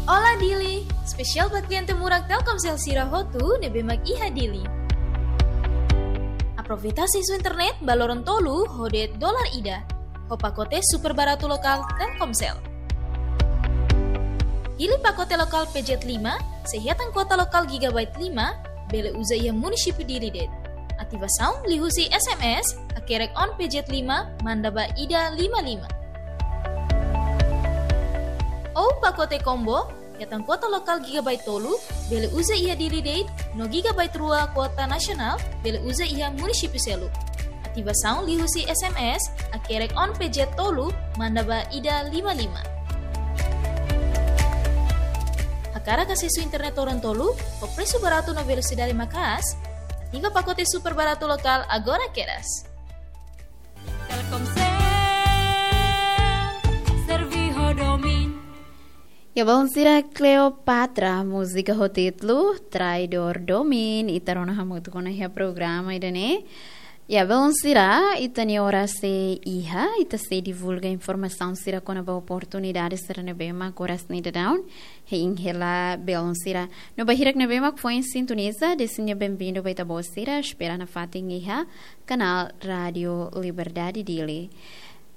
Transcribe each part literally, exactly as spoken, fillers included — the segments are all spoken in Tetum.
Olá Dili! Espesiál ba kliente murak Telkomsel sira hotu ne'ebé mak iha Dili. Aproveita asesu internet ba loron tolu ho de'it dolar ida, ho pakote super baratu lokál Telkomsel. Hili pakote lokál P Z lima, sei hetan kuota lokál gigabyte lima, bele uza iha munisípiu Dili de'it. Ativasaun liuhusi S M S, hakerek on P Z lima, manda ba ida lima lima. Ou pakote combo, hetan kuota lokál gigabyte tolu, bele uza iha Dili de'it, no gigabyte rua kuota nasionál, bele uza iha munisípiu seluk. Ativasaun liuhusi S M S, hakerek on P Z tolu, manda ba ida lima lima. Hakarak asesu internet loron tolu, ho presu baratu no velosidade maka'as, ativa pakote super baratu lokál agora kedas. Telkomsel, servi ho domin. Ya, belun sira, Cleopatra, múzika ho títulu Traidór Domin, ita rona hamutuk ona iha programa ida-ne'e. Ya, belun sira, ita-nia oras sei iha, ita sei divulga informasaun sira kona-ba oportunidade sira ne'ebé mak oras ne'e daudaun hein hela belun sira. No ba hirak ne'ebé mak foin sintoniza, desimu benvindu ba ita-boot sira, espera nafatin iha kanál Rádio Liberdade Dili.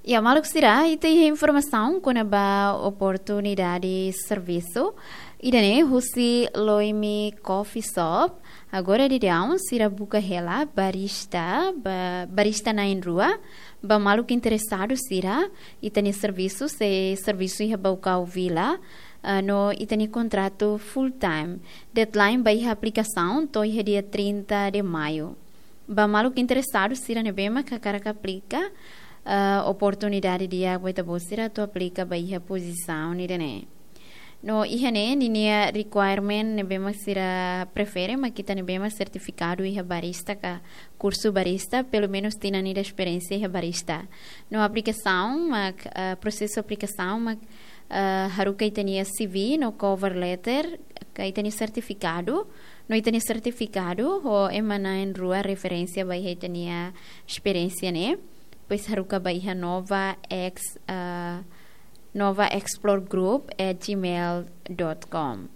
Ya, maluk sira, ita iha informasaun kona-ba oportunidade servisu. Ida-ne'e husi Loimi Coffee Shop. Agora daudaun sira buka hela barista, ba, barista na'in-rua, ba maluk interesadu sira, ita-nia servisu sei servisu iha Baucau Vila, ah, no ita-nia kontratu full time. Deadline ba iha aplikasaun to'o iha dia trinta de maio. Ba maluk interesadu sira ne'ebé mak hakarak aplika, ah, oportunidade di'ak ba ita-boot sira atu aplika ba iha pozisaun ida-ne'e. No iha ne'e ninia requirement ne'ebé mak sira prefere mak ita ne'ebé mak sertifikadu iha barista ka kursu barista, pelumenus tinan ida esperiénsia iha barista. No aplikasaun mak, ah, prosesu aplikasaun mak, ah, haruka ita-nia C V no cover letter, ka ita-nia sertifikadu, no ita-nia sertifikadu ho ema na'in-rua referénsia ba iha ita-nia esperiénsia ne'e. Depois haruka ba iha Nova X, ah, nova explore group at gmail dot com.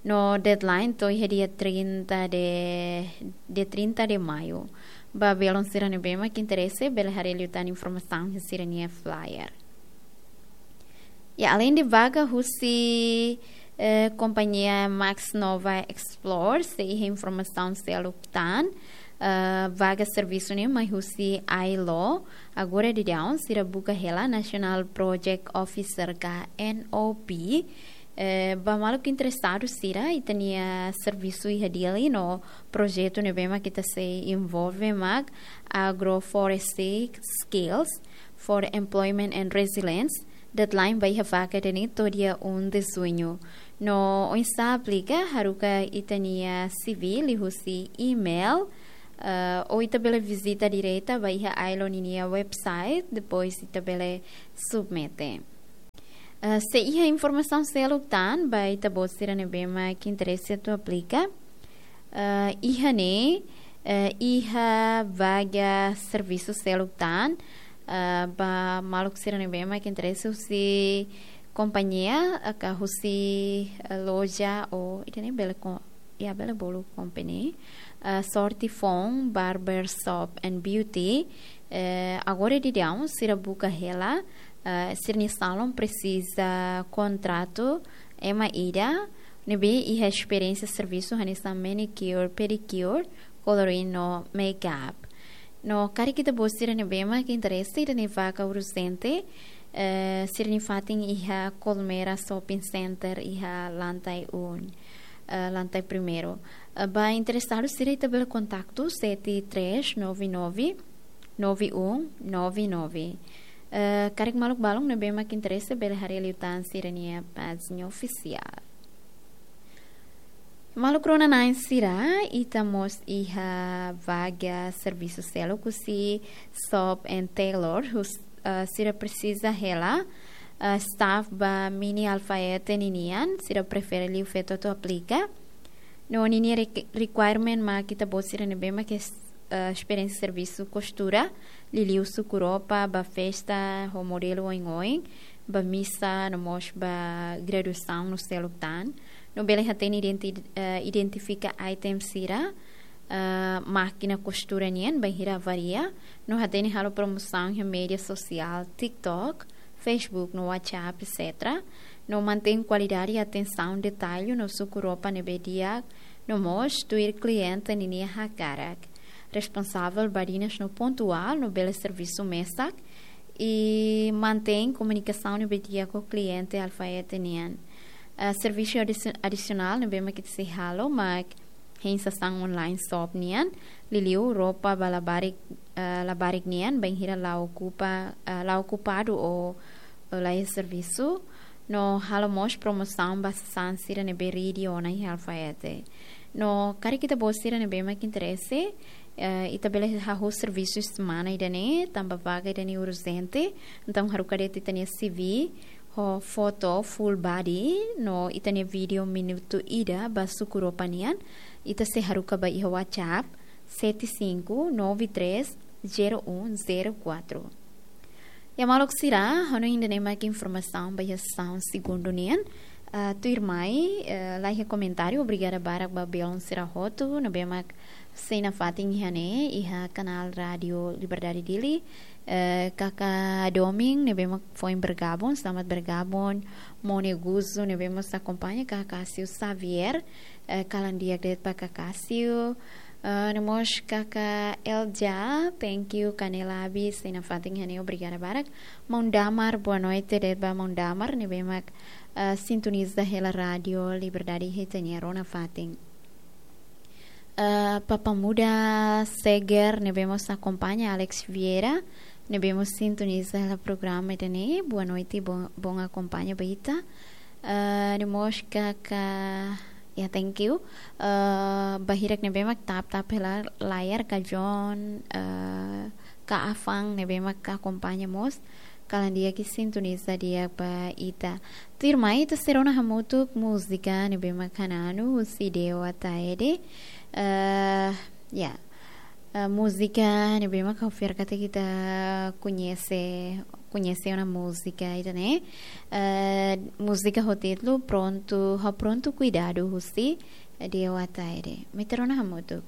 No deadline to'o iha dia trinta de, dia trinta de maio. Ba belun sira ne'ebé mak interese, bele haree liután informasaun iha sira-nia flyer. Ya, alende vaga husi, eh, kompañia Max Nova Explore, sei iha informasaun seluk tan, eh, vaga servisu ne'e mai husi ILO, agora daudaun sira buka hela National Project Officer ka N O P, eh, ba maluk interesadu sira, ita-nia servisu iha Dili no projetu ne'ebé mak ita sei envolve mak Agroforestry Skills for Employment and Resilience, deadline ba iha vaga ida-ne'e to'o dia um de junho. No oinsá aplika, haruka ita-nia C V liuhusi email, eh, ou ita bele vizita direta ba iha ILO ninia website, depois ita bele submete. Eh, sei iha informasaun seluk tan ba ita-boot sira ne'ebé mak interese atu aplika. Eh, iha ne'e, eh, iha vaga servisu seluk tan, eh, ba maluk sira ne'ebé mak interese husi kompañia, eh, ka husi, eh, loja ou ida-ne'e bele ko-, ya, bele bolu company, eh, Sorte Fon Barber Shop and Beauty, eh, agora daudaun sira buka hela, eh, sira-nia salon presiza kontratu ema ida ne'ebé iha esperiénsia servisu hanesan manicure, pedicure, coloring no makeup. No karik ita-boot sira ne'ebé mak interese, ida-ne'e vaga urjente, eh, sira-nia fatin iha Colmera Shopping Center iha lantai um, eh, lantai primeiru. Eh, ba interesadu sira ita bele kontaktu sete três nove nove, nove um nove nove. Eh, karik maluk balun ne'ebé mak interese bele haree liután sira-nia pájina ofisiál. Maluk rona-na'in sira, ita mós iha vaga servisu seluk husi Shop and Tailor, hus-, eh, sira presiza hela, eh, staff ba mini alfaiate ninian, sira prefere liu feto atu aplika. No ninia re-, requirement mak ita-boot sira ne'ebé mak es-, eh, esperiénsia servisu kostura, liuliu suku roupa ba festa ho modelu oin-oin, ba misa, no mós ba graduasaun no seluk tan. No bele hatene identi-, eh, identifika item sira, eh, mákina kostura nian, bainhira avalia. No hatene halo promosaun iha média sosiál, TikTok, Facebook, no WhatsApp, et cetera. No mantein kualidade, atensaun, detallu, no suku ropa ne'ebé di'ak, no mós tuir kliente ninia hakarak. Responsavel badinas no pontuál, no bele servisu mesak, i mantein komunikasaun ne'ebé di'ak ho kliente Alfayete nian. Ah, servisu adisi-, adisionál ne'ebé mak ita sei halo mak hein sasán online shop nian, liuliu ropa ba labarik, ah, labarik nian, bainhira la okupa, ah, la okupadu ou, ou laiha servisu, no halo mós promosaun ba sasán sira ne'ebé ridi ona iha Alfayete. No karik ita-boot sira ne'ebé mak interese, eh, ita bele hahú servisu semana ida-ne'e, tanba vaga ida-ne'e urjente, entaun haruka de'it ita-nia C V, ho foto full body, no ita-nia vídeo minutu ida ba suku ropa nian, ita sei haruka ba iha WhatsApp, sete cinco nove três zero um zero quatro. Ya maluk sira, ha'u hanoin ida-ne'e mak informasaun ba iha sesaun segundu nian. Ah, tuirmai, eh, laiha komentáriu, obrigada barak ba belun sira hotu, ne'ebé mak sei nafatin iha ne'e, iha kanál Rádio Liberdade Dili, eh, kaka Doming, ne'ebé mak foin bergabung, selamat bergabung, Mone Guzu, ne'ebé mós akompaña, kaka Cássio Xavier, eh, kalan di'ak de'it ba kaka Cássio, eh, no mós kaka Elja, thank you, Canela Abi, sei nafatin iha ne'e, obrigada barak. Maun Damar, boa noite de'it ba Maun Damar, ne'ebé mak, eh, sintoniza hela Rádio Liberdade iha ita-nia rona fatin. Eh, Papa Muda Seger, ne'ebé mós akompaña, Alex Vieira, ne'ebé mós sintoniza hela programa ida-ne'e, boa noite, bon, bon akompaña ba ita. Eh, no mós kaka, ya, thank you. Eh, ba hirak ne'ebé mak tap-tap hela layar, ka John, eh, ka Afang ne'ebé mak akompaña mós, kalan di'ak i sintoniza di'ak ba ita. Tuirmai ita sei rona hamutuk múzika ne'ebé mak hananu husi Deo Ataide. Eh, ya. Eh, múzika ne'ebé mak ha'u fiar katak ita koñese, koñese ona múzika ida-ne'e. Eh, múzika ho títulu Pronto, Ha'u Pronto Kuidadu husi Deo Ataide. Mai ita rona hamutuk.